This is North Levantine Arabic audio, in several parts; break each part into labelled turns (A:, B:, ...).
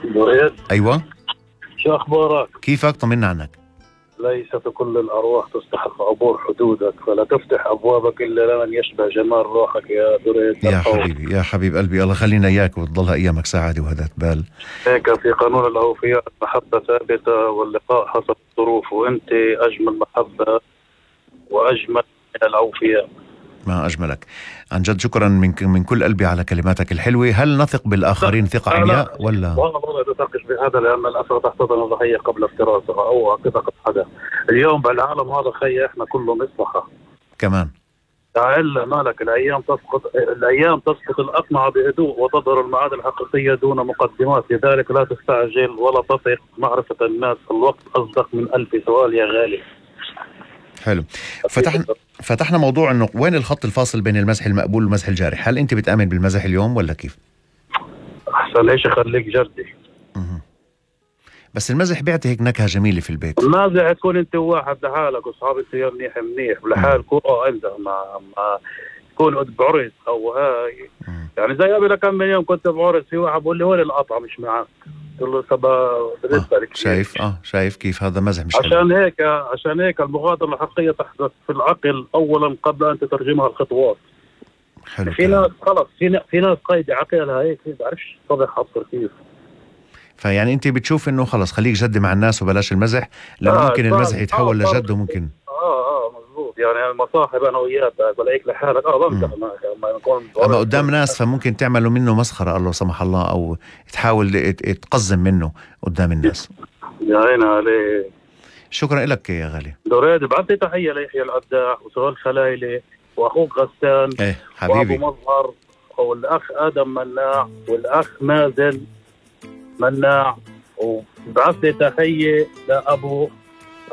A: دريد،
B: أيوة،
A: شو أخبارك؟
B: كيفك؟ طمنا عنك.
A: ليست كل الأرواح تستحق عبور حدودك، فلا تفتح أبوابك إلا لمن يشبه جمال روحك يا دريد.
B: يا حبيبي، يا حبيب قلبي، الله خلينا إياك وتضلها أيامك سعادة وهدات بال.
A: هيك في قانون الأوفياء المحبة ثابتة واللقاء حسب الظروف، وأنت أجمل محبة وأجمل من الأوفياء.
B: ما أجملك، عن جد شكرا من كل قلبي على كلماتك الحلوة. هل نثق بالآخرين ثقة عمياء ولا؟
A: والله لا تثقش بهذا، لأن الأسرة تحتضن الضحية قبل افتراسها أو تثق حدا. اليوم بالعالم هذا خي إحنا كله مصلحة
B: كمان.
A: تعال مالك، الأيام تسقط الأقنعة بهدوء وتظهر المعادن الحقيقية دون مقدمات، لذلك لا تستعجل ولا تثق. معرفة الناس الوقت أصدق من 1000 سؤال يا غالي.
B: حلو. فتحنا موضوع انه وين الخط الفاصل بين المزح المقبول والمزح الجارح. هل انت بتآمن بالمزح اليوم ولا كيف؟
A: احسن ليش خليك جردي.
B: بس المزح بيعطي هيك نكهة جميلة في البيت.
A: المازح تكون انت واحد لحالك واصحابك فيها منيح لحالكم، انت ما تكون بعرس او هاي. يعني زي قبل كم من يوم كنت بعرس، في واحد بقول لي وين القطعة مش معك، قلت له سبا بالنسبة لك
B: شايف كيف هذا مزح مش
A: عشان هيك المغادرة الحقيقية تحدث في العقل اولا قبل ان تترجمها الخطوات.
B: حلو.
A: في ناس خلص، في ناس قايدة عقلها هيك ما بعرفش طبع حصر كيف.
B: فيعني انت بتشوف انه خلص خليك جد مع الناس وبلاش المزح، لانه ممكن المزح يتحول لجد وممكن
A: مظبوط. يعني المصاحب انا وياك بلاقيك لحالك بمزح ما يكون
B: اما قدام ناس فممكن تعملوا منه مسخرة الله سمح الله، او تحاول تقزم منه قدام الناس.
A: يا عيني عليك.
B: شكرا لك يا غالي.
A: دريد بعطي تحية ليحيى القداح وسهيل خلايلي واخوك غسان
B: حبيبي
A: وابو مظهر والاخ ادم مناع والاخ مازن مناع، وبعث لي تحية لأبو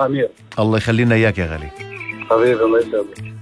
A: أمير.
B: الله يخلينا إياك يا غالي.
A: حبيبي الله يسلمك.